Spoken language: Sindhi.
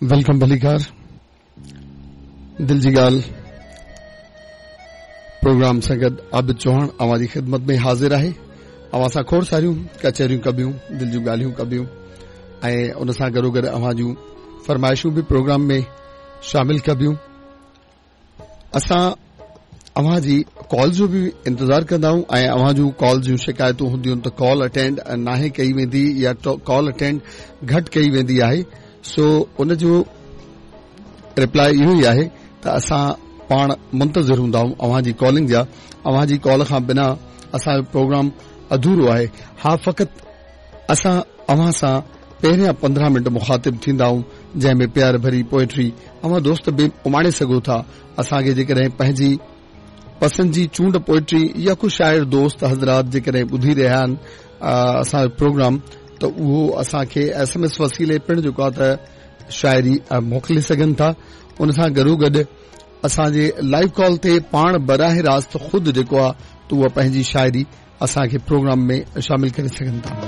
Welcome ڀليڪار دل جي ڳالهه پروگرام سان گڏ عابد چوهاڻ اوهان جي خدمت ۾ حاضر آهي. اوهان سان کوڙ ساريون ڪچهريون ڪبيون، دل جون ڳالهيون ڪبيون ۽ ان سان گڏوگڏ اوهان جون فرمائشون به پروگرام ۾ شامل ڪبيون. اسان اوهان جي ڪال جو به انتظار ڪندا آهيون ۽ اوهان جون ڪال جون شڪايتون هونديون ته ڪال اٽينڊ ناهي ڪئي ويندي يا ڪال اٽينڊ گهٽ ڪئي ويندي آهي سو ان جو رپلائي اهو ئي آهي ته اسان پاڻ منتظر هوندا آهيون اوهان جي ڪالنگ جا اوهان جي ڪال کان بنا اسان جو پروگرام اڌورو آهي ها فقط اسان اوهان سان پهريان 15 منٽ مخاطب ٿيندا آهيون جنهن ۾ پيار ڀري پوئٽري اوهان دوست به اماڻي سگهو ٿا اسان کي جيڪڏهن پنهنجي پسند جي چونڊ پوئٽري يا ڪو شاعر دوست حضرات جيڪڏهن ٻڌي رهيا آهن اسان جو پروگرام ته اهو اسان کي ايس ايم ايس وسيلي پڻ جيڪو آهي ته شاعري موڪلي سگهن ٿا ان سان گڏو گڏ اسان جي لائيو ڪال تي پاڻ براهه راست خود جيڪو آهي ته اها پنهنجي شاعري اسان کي پروگرام ۾ شامل ڪري سگهن ٿا.